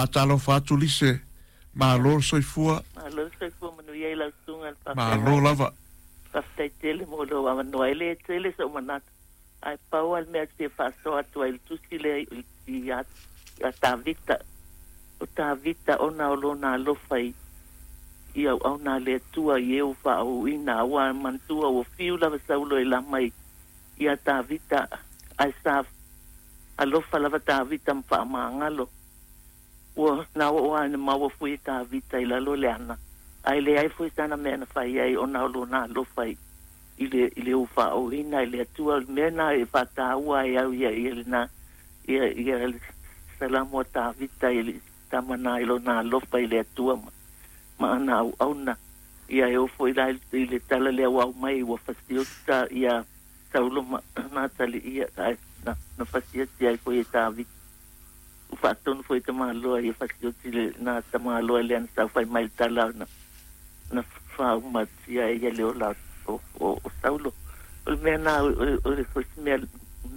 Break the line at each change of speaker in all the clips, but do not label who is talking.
Faatalofa atu Lise, malo le soifua.
Malo le soifua manuia i lau susuga i le
Malo
faafeagaiga.
lava.
Faafetai tele mo lou avanoa. E le tele sou manatu, ae pau lava le mea ou te fia faasoa atu ai i le tusi lea ia Tavita. O Tavita ona o lona alofa i i auauna a le Atua i e ua faaūina, aua manatua ua fiu lava Saulo e lama i ia Tavita, ae sa alofa lava Tavita ma faamagalo. Ua na oo lava ina maua foi e Tavita i lalo le ana, ae leai foi sana mea na fai ai ona o lona alofa i i le i le ua faaūina e le Atua. O le mea lena e faataua ai au ia ia lena ia ia le Salamo a Tavita i le tama na i lona alofa i le Atua ma ma ana auauna. Ia e oo foi la i le tala lea ua aumai ua fasioti ia Saulo ma Natali ia ae na, na fasioti ai foi e Tavita. Ua faatonu foi e tamaloa ia fasioti le na tamaloa lea na saofai mai le tala na na faaumatia ai ia le ola o, o, o Saulo. O le mea na o, o, o se mea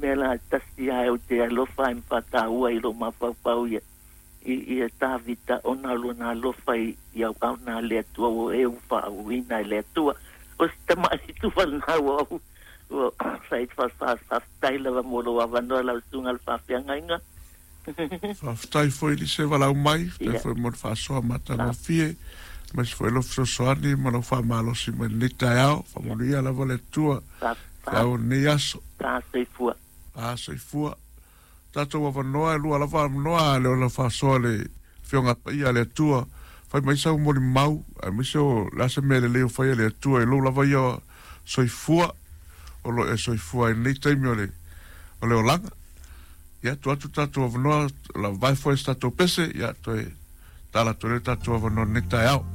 mea la tasi ae ou te alofa ai ma faataua i lou mafaufau ia i, ia Tavita ona o lona alofa i, i auauna a le Atua ua e ua faauuina e le Atua. O se tamai tufa lena ua ou ua fai faafetai lava mo lou avanoa lau susuga i le faafeagaiga.
Faafetai foi Lise valaau mai, faafetai foi mo le faasoa matagofie, aemaise foi lou fesoasoani ma lou faamalosi mai lenei taeao. Faamanuia lava le Atua i le ao o lenei aso.
Soifua.
Soifua. Tatou avanoa e lua lava avanoa a le ona faasoa le Afioga Paia a le Atua. Fai mai sau molimau, aemaise o le a se mea lelei o fai e le Atua i lou lava ia soifua, o lo o e soifua ai i lenei taimi o le, o le olaga. Ia, tuu atu tatou avanoa, lavae foi se tatou pese, ia, toe tala atu ai le tatou avanoa i lenei taeao.